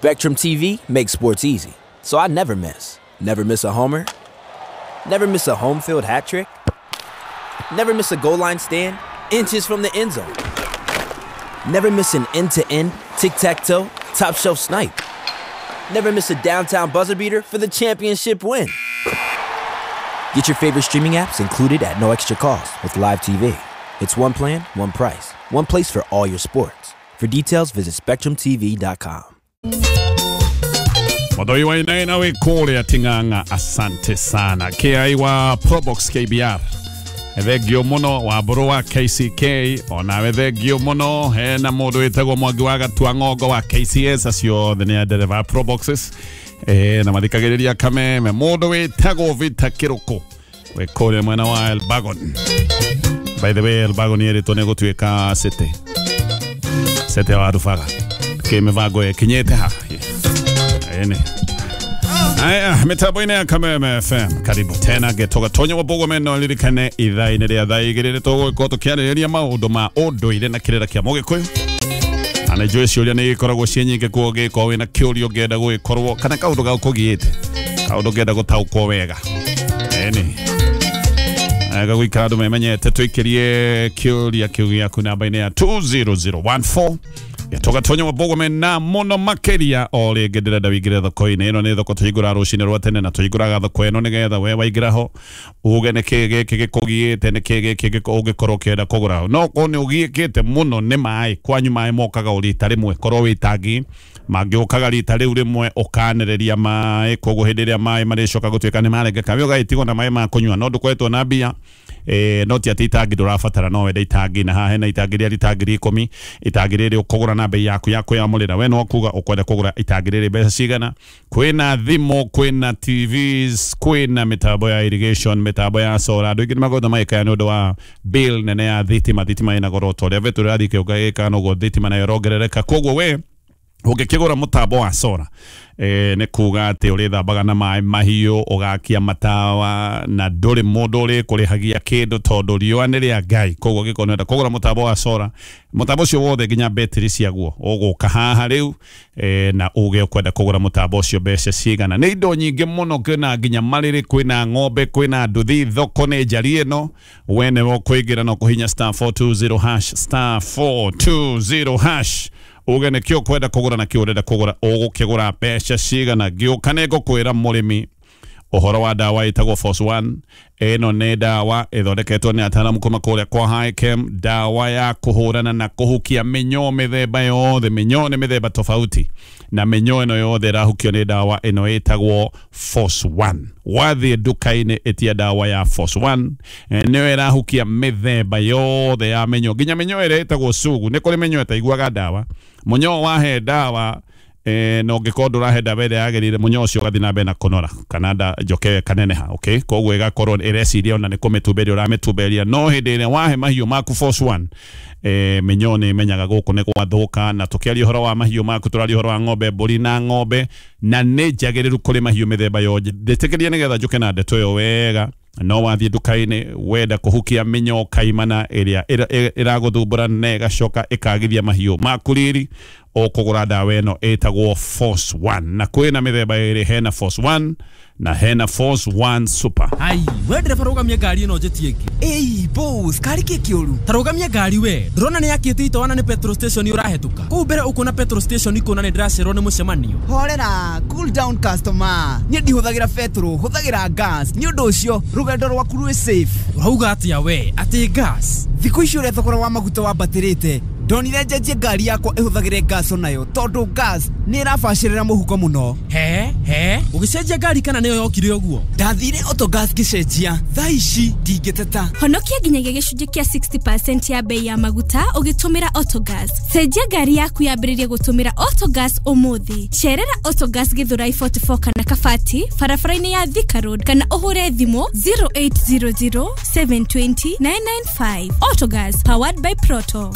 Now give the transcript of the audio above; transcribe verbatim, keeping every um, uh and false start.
Spectrum T V makes sports easy, so I never miss. Never miss a homer. Never miss a home field hat trick. Never miss a goal line stand, inches from the end zone. Never miss an end-to-end, tic-tac-toe, top shelf snipe. Never miss a downtown buzzer beater for the championship win. Get your favorite streaming apps included at no extra cost with Live T V. It's one plan, one price, one place for all your sports. For details, visit spectrum T V dot com. Modoi wa inaina we kule atinganga, asante sana. K I wa Probox K B R. Thengio muno wa mburu wa K C K, onawe thengio muno hena mundu witagwo Mwangi wa Gatua Ng'ongo wa K C S, acio othe nĩ ndereba Proboxes eh na mathikagĩrĩria Kameme. Mundu witagwo Vita Kiruku wĩ kũrĩa mwena wa Elbagon. By the way, Elbagon yeritwo nĩ gũtuĩka city city wa Rubaga kĩmĩbango ĩkinyĩte ha ene. Aya, mitambo-inĩ ya Kameme F M. Karibu tena getoga tonyo wabogo meno lirikane ithaa-inĩ rĩa thaa igĩrĩ nĩ tũgũgĩkorwo tũkĩarĩrĩria maũndũ ma ũndũire na kĩrĩra kĩa Mũgĩkũyũ. Na nĩ njũĩ ciũria nĩ ikoragwo ciĩ nyingĩ, kuo ũngĩkorwo wĩna kĩũria ũngĩenda gũgĩkorwo kana kaũndũ gagũkũgiĩte, kaũndũ ũngĩenda gũtaũkwo wega. Ĩni gagũikara andũ memenyete, tũikĩrie kĩũria kĩu gĩaku namba-inĩ ya two zero zero one four. Getoga tonyo wabogo mena muno makeria o rĩngĩ ndĩrenda wĩingĩre thoko-inĩ ĩno. Nĩ thoko tũhingũraga rũcinĩ rwa tene na tũhingũraga thoko ĩno nĩgetha we waingĩra ho uge nĩkĩĩ gĩkĩ gĩkũgiĩte, nĩkĩĩ gĩkĩ ũngĩkorwo ũkĩenda kũgũra. No korwo nĩ ũgiĩkĩte mũno nĩ maĩ, kwanyu maĩ mokaga o rita rĩmwe, korwo wĩ itangi mangĩũkaga rita rĩu rĩmwe ũkanĩrĩria maĩ, koguo hĩndĩ ĩrĩa maĩ marĩcoka gũtuĩka nĩ marengeka we ũgagĩtigwo na maĩ ma kũnyua, no ndũkoretwo na mbia. Eh, no ti atĩ itangi ndũrabatara, no wende itangi, na haha hena itangi rĩa rita ngiri ikũmi, itangi rĩrĩ ũkũgũra na bei yaku ya kwĩyamũrĩra. We no kuga ũkwenda kũgũra itangi rĩrĩ mbeca cigana. Kwĩna thimũ, kwĩna T Vs, kwĩna mĩtambo ya irrigation, mĩtambo ya solar. Andũ aingĩ nĩmakoretwo magĩkaya nĩ ũndũ wa bill nene ya thitima. Thitima ĩna goro ta ũrĩa betũ ĩrathiĩ ĩkĩongerereka, noguo thitima nayo ĩrongerereka. Koguo we ũngĩkĩgũra mũtambo wa solar eh, nĩ kuga atĩ ũrĩthambaga na maĩ mahiũ, ũgakia matawa na ndũrĩ mũndũ ũrĩkũrĩhagia kĩndũ tondũ riũa nĩ rĩa Ngai. Koguo ũngĩkorwo nĩũrenda kũgũra mũtambo wa solar, mũtambo ũcio wothe nginya betiri ciaguo, ũgũka haha rĩu eh, na uge ũkwenda kũgũra mũtambo ũcio mbeca cigana. Nĩ indo nyingĩ mũno, kwĩna nginya marĩrĩ, kwĩna ng'ombe, kwĩna nduthi. Thoko nĩ njari ĩno, we nĩwe ũkũingĩra na ũkũhinya star four two zero hash, star four two zero hash, uge nĩkĩo ũkwenda kũgũra na kĩo ũrenda kũgũra, ũgũkĩgũra mbeca cigana. Ngĩũka nĩ ngũkwĩra mũrĩmi ũhoro wa ndawa ĩtagwo Force One. Ĩno nĩ ndawa ĩthondeketwo nĩ ataaramu kuma kũrĩa kwa Hikem, ndawa ya kũhũrana na kũhukia mĩnyoo mĩthemba yothe. Mĩnyoo nĩ mĩthemba tofauti, na mĩnyoo ĩno yothe ĩrahukio nĩ ndawa ĩno ĩtagwo Force One. Wathiĩ nduka-inĩ ĩtia ndawa ya Force One, nĩyo ĩrahukia mĩthemba yothe ya mĩnyoo, nginya mĩnyoo ĩrĩa ĩtagwo sugu. Nĩ kũrĩ mĩnyoo ĩtaiguaga ndawa. Mũnyoo wahe ndawa eh, na ũngĩkorwo ndũrahe ndawa ĩrĩa yagĩrĩire, mũnyoo ũcio ũgathiĩ na mbere na kũnora kana nda njoke ĩkaneneha. Okay, koguo ĩgakorwo ĩreciria ona nĩ kũmĩtumberia ũramĩtumberia. No hĩndĩ ĩrĩa wahe mahiũ maku Force One, eh, mĩnyoo nĩ ĩmenyaga gũkũ nĩ gwathũka. Na tũkĩaria ũhoro wa mahiũ maku, tũraria ũhoro wa ng'ombe, mbũri na ng'ombe, na nĩ njagĩrĩru kũrĩ mahiũ mĩthemba yothe. Ndĩtĩkĩrie nĩgetha njũke na ndeto ĩyo wega. No wathiĩ nduka-inĩ wenda kũhukia mĩnyoo kaimana ĩrĩa ĩragũthumbũra na ĩgacoka ĩkagithia mahiũ maku riri, ũkũgũra ndawa ĩno ĩtagwo Force One. Na kwĩna mĩthemba ĩrĩ, hena Force One na hena Force One Super. Ai, we ndereba rũgamia ngari ĩno njĩtie ĩngĩ. Ĩi boss, kari kĩ kĩũru? Ta rũgamia ngari we. Ndũrona nĩ yakĩte itoana nĩ petrol station ũrahĩtũka. Kũu mbere ũkuona petrol station ikũna nĩ ndĩracererwo nĩ mũcemanio. Horera, cool down customer. Niĩ ndihũthagĩra petrol, hũthagĩra gas. Nĩ ũndũ ũcio rũgendo rwaku rwĩ safe. Ũrauga atĩa we? Atĩ gas? Thikũ ici ũrĩa thogora wa maguta wambatĩrĩte, ndonire njenjie ngari yakwa ĩhũthagĩre gas onayo, tondũ gas nĩ ĩrabacĩrĩra mũhuko mũno. He he, ũgĩcenjia ngari kana nĩyo yokire ũguo? Ndathire Autogas ngĩcenjia, thaa ici ndingĩteta. Honokia nginyagia gĩcunjĩ kĩa sixty percent ya bei ya maguta ũgĩtũmĩra Autogas. Cenjia ngari yaku yambĩrĩrie gũtũmĩra Autogas ũmũthĩ. Cerera Autogas Githurai forty-four kana Kabati, barabara-inĩ ya Thika Road, kana ũhũre thimũ zero eight zero zero seven two zero nine nine five. Autogas, powered by Proto.